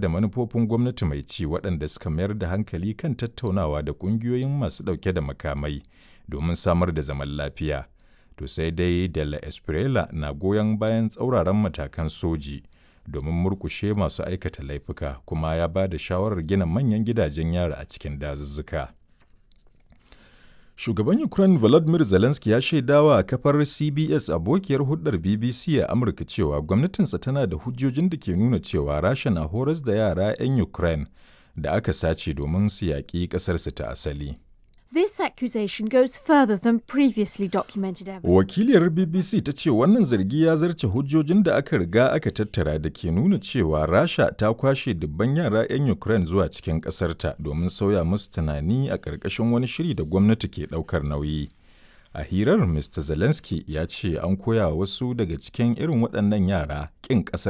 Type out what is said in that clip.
Da manufofin gwamnati mai ci waɗanda suka mayar da hankali kan tattaunawa da ƙungiyoyin masu ɗauke da makamai domin samar da zaman lafiya. To sai dai de la Espriella na goyon bayan tsauraran matakan soji domin murƙushe masu aikata laifuka kuma ya ba da shawarar gina manyan gidajen yari a cikin dazuzzuka. Shugaban Ukraine Volodymyr Zelensky ya shaidawa kafar CBS abokiyar hulɗar BBC a Amurka cewa gwamnatinsa tana da hujjojin da ke nuna cewa Rasha na horas da yara 'yan Ukraine da aka sace domin su yaƙi ƙasarsu ta asali. This accusation goes further than previously documented evidence. Wakiliyar BBC ta ce wannan zargi ya zarce hujjojin da aka riga aka tattara da ke nuna cewa Rasha ta kwashe dubban yara 'yan Ukraine zuwa cikin ƙasarta domin sauya musu tunani a ƙarƙashin wani shiri da gwamnati ke ɗaukar nauyi. A hirar, Mr. Zelensky ya ce an koya wasu daga cikin irin waɗannan yara ƙin ƙasar